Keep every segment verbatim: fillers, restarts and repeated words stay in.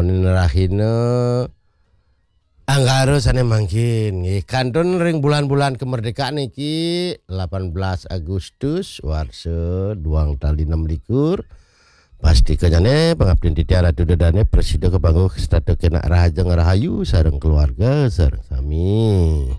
Rahina Anggara sané mangkin. Nggih, kantun ring bulan-bulan kemerdekaan niki, delapan belas Agustus, warsa duang tali enam likur. Pastika nyané, pangabdin titiang Ratu Dedane, prasida kapangguh setata kenak rahajeng rahayu sareng keluarga sareng sami.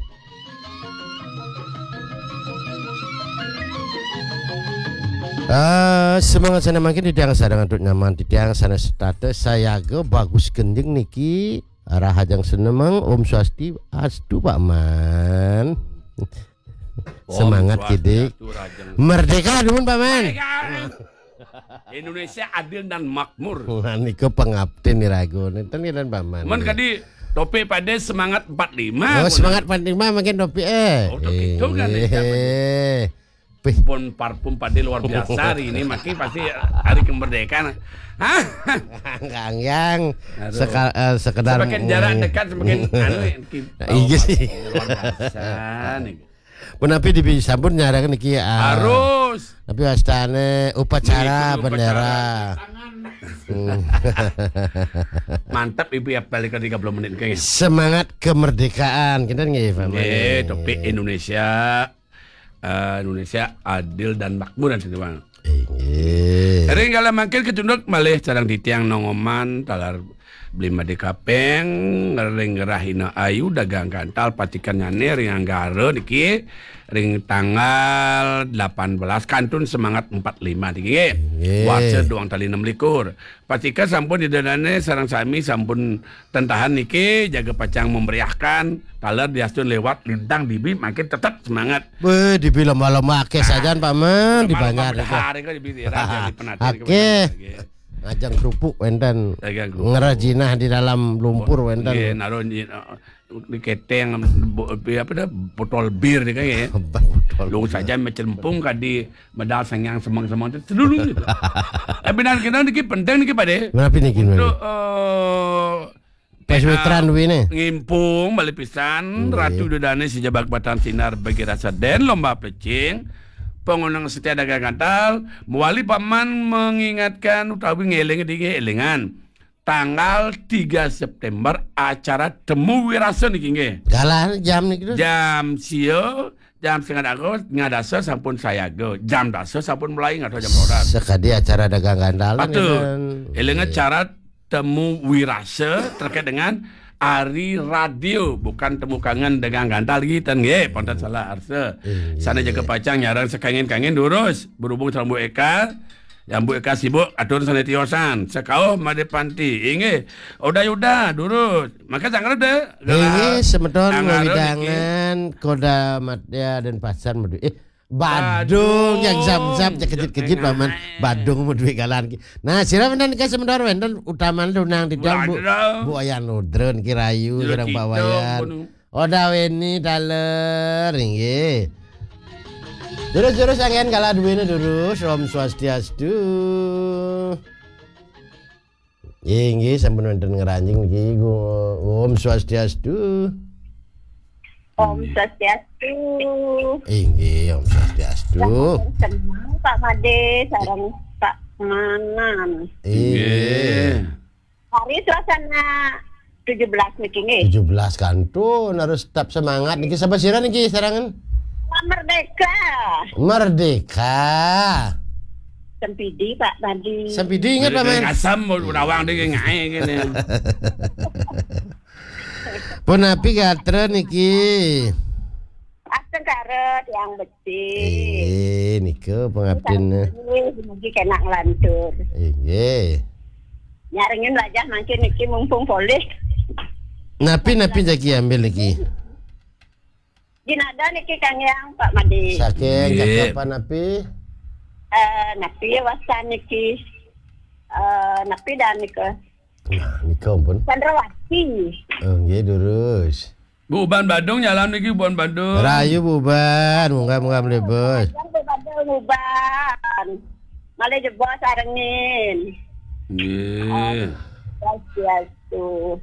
Ah, semangat sané mangkin titiang sareng antuk nyaman titiang sané setata sayaga bagus genjing niki. Rahajeng senemeng, Om Swasti, astu, Pak Man. Om Semangat, Swastiastu, Kidik. Rahajeng. Merdeka, nuwun, Pak Man. Merdeka. Indonesia adil dan makmur. Wah, niku pangabdin iraga. Nénten, nénten, Pak Man. Men kadi topik pada semangat empat lima, Oh, semangat empat lima mangkin topik, eh. Oh, topik itu kan, Eh. Pih. Pun parfum pada luar biasa hari ini, maki pasti hari kemerdekaan. Hah? Kang Yang, Aduh. Seka-, eh, sekedar Semakin jarak dekat, semakin anu, ki-, Nah, iya sih. Luar biasa nih. Punapi dibi sampun nyarang niki, ah. Harus. Tapi wastane upacara Mengikuti upacara. Bendera. Hmm. Mantap, Ibu, ya, balik ke tiga puluh menit, kayaknya. Semangat kemerdekaan, kita nggih, Pak Nggih, Made. Topik Indonesia, eh, Indonesia adil dan makmur, kan, Bang. Inggih. Ring kala mangkin kacunduk malih sareng titiang Nongoman taler Beli Made Kapeng ring Rahina Ayu dagang gantal patikan nyane ring Anggara niki ring tanggal delapan belas kantun semangat empat lima niki nggih. Inggih. Warsa duang tali enam likur. Patika sampun ida dane sareng sami sampun tentahan niki jaga pacang memeriahkan taler diastun lewat lintang dibi makin tetap semangat. Weh, dibi lomba-lomba akeh sajan, Pak Man, di Lomba-lomba Banjar itu. Bedahar itu dibi daerah jadi penatian Akeh. Kebanyakan lagi. Ngajang kerupuk wenten. Ngajang kerupuk. Ngerajinah di dalam lumpur wenten. Nggih, naruh di, di keteng, bo-, apa dah, botol bir ni kan ya. Botol Lung bir. Saja macam pung kadi medal sangyang semang-semang tu seluruh gitu. Tapi dan kena niki penting niki pade. Berapa niki, Untuk, Bang? Eh, Pas weteran duwene. Ngimpung malih pisan Nggih. Ratu Dedane Sejabak Batang Sinar bagi rasa den lomba plecing. Pengunang setia dagang gantal, mewali paman mengingatkan utawi ngeling dingin elingan. Tanggal tiga September acara Temu Wirasa niki nggih. Galah jam niki, Terus? Jam sia, jam setengah dasa, setengah dasa sampun sayaga. Jam dasa sampun mulai, nggak tahu jam berapa. Sekadi acara dagang gantal Betul. Kan. Elingan Nggih. Acara Temu Wirasa terkait dengan Ari Radio, bukan Temu Kangen dengan Gantal lagi, ten nggih, ponten salah arsa. Inggih. Sana jaga pacang nyarang sekangen-kangen durus, berhubung sama Bu Eka, yang Bu Eka sibuk atur sana tiosan, sekauh Made Panti, inggih, udah-udah durus, maka sangkar deh. Inggih, semeton Angkara niki. Wewidangan Koda Madya dan Pasar Medu. Eh, Badung, Badung. Yang zam-zam, cekejit-kejit, Yang Paman. Badung mau duit galan ki. Nah, sira wenten nika sementara wenten utaman tunang titiang Bu, Badung. Bu Wayan Nudrun ki rayu, Jero sareng Pak Cito, Wayan. Gunung. Oda weni taler, inggih. Terus-terus anggen kala duwene durus, Om Swastiastu. Inggih, sampun wonten ngranjing niki, Gu-, Om Swastiastu. Om Swastiastu. Inggih, Om Swastiastu. Senang, Pak Made, sareng Pak Manan. Inggih. Inggih. Hari suasana tujuh belas niki nggih. Tujuh belas kantun, harus tetap semangat niki. Sapa sira niki, sarangan? Merdeka. Merdeka. Sempidi, Pak, tadi. Sempidi ingat, Dari Paman. Asam, mau nawang dia ngae kene. Punapi gatra niki? Astengkara tiang becik. Eh, nika pengabdin. Nggih, mugi kena nglantur. Inggih. Nyarengin wajah mangkin niki mumpung polih. Napi, napi jagi ambil niki? Jinada niki Kang Yang, Pak Made. Saking Nggih. Cakep napi? Eh, napi wasan niki? Eh, napi dan nika? Nah, nika pun. Chandrawati. Oh, nggih, durus. Bu Uban Badung nyalam niki, Bu Uban Badung. Rayu Bu Uban, munggah-munggah mlebus. Yang Bu Badung Uban. Malih jebos arengin. Nggih. Om Swastiastu.